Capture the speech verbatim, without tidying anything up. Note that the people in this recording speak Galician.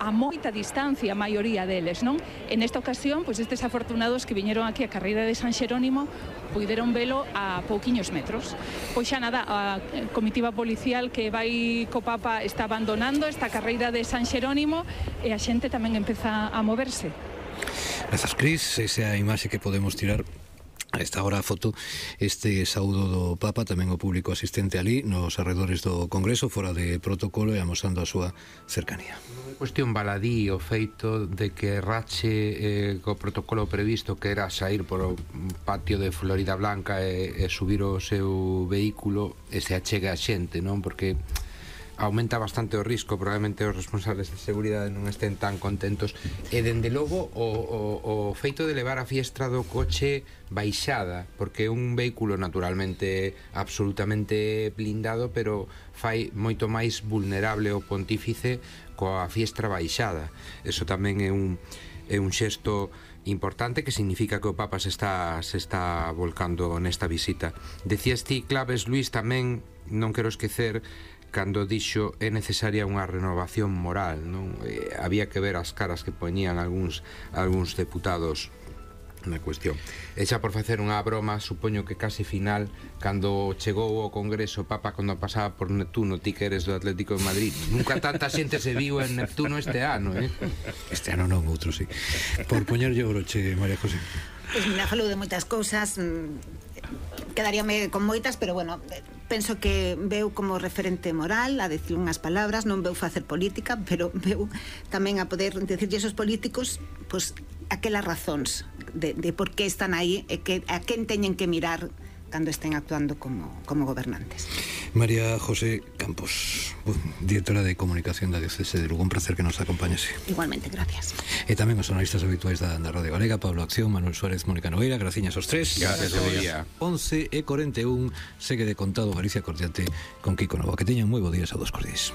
a moita distancia a maioría deles, non? En esta ocasión, pois estes afortunados que viñeron aquí a carreira de San Xerónimo puideron velo a pouquiños metros. Pois xa nada, a comitiva policial que vai co Papa está abandonando esta carreira de San Xerónimo e a xente tamén empeza a moverse. Grazas, Cris. Esa é a imaxe que podemos tirar a esta hora a foto, este saúdo do Papa, tamén o público asistente ali nos arredores do Congreso, fora de protocolo e amosando a súa cercanía. Cuestión baladí o feito de que rache eh, co protocolo previsto, que era sair por o patio de Florida Blanca e, e subir o seu vehículo e se achega a xente, non? Porque aumenta bastante o risco, probablemente os responsables de seguridade non estén tan contentos e dende logo o, o, o feito de levar a fiestra do coche baixada, porque é un vehículo naturalmente absolutamente blindado, pero fai moito máis vulnerable o pontífice coa fiestra baixada. Eso tamén é un, é un xesto importante que significa que o Papa se está, se está volcando nesta visita. Decías ti, Claves, Luís, tamén non quero esquecer cando dixo é necesaria unha renovación moral, non? Eh, había que ver as caras que poñían algúns, algúns deputados na cuestión. E xa por facer unha broma, supoño que case final, cando chegou ao Congreso o Papa, cando pasaba por Neptuno, ti que eres do Atlético de Madrid, nunca tanta xente se viu en Neptuno este ano, eh? Este ano non, outro sí. Por poñerlle o broche, María José. Pois pues mira, falou de moitas cousas, quedaríame con moitas, pero bueno, penso que veu como referente moral a decir unhas palabras, non veu facer política, pero veu tamén a poder decirlle esos políticos pois aquelas razóns de, de por que están aí e que, a quen teñen que mirar cando estén actuando como, como gobernantes. María José Campos, directora de Comunicación da Diocese de Lugo, un placer que nos acompañase. Igualmente, gracias. E tamén os analistas habituais da, da Radio Galega, Pablo Acción, Manuel Suárez, Mónica Nogueira, graciñas aos tres. Gracias, Sevilla. once e cuarenta e un, segue de contado Galicia Cordiante con Kiko Nova. Que teñan moi bo días a dos cordis.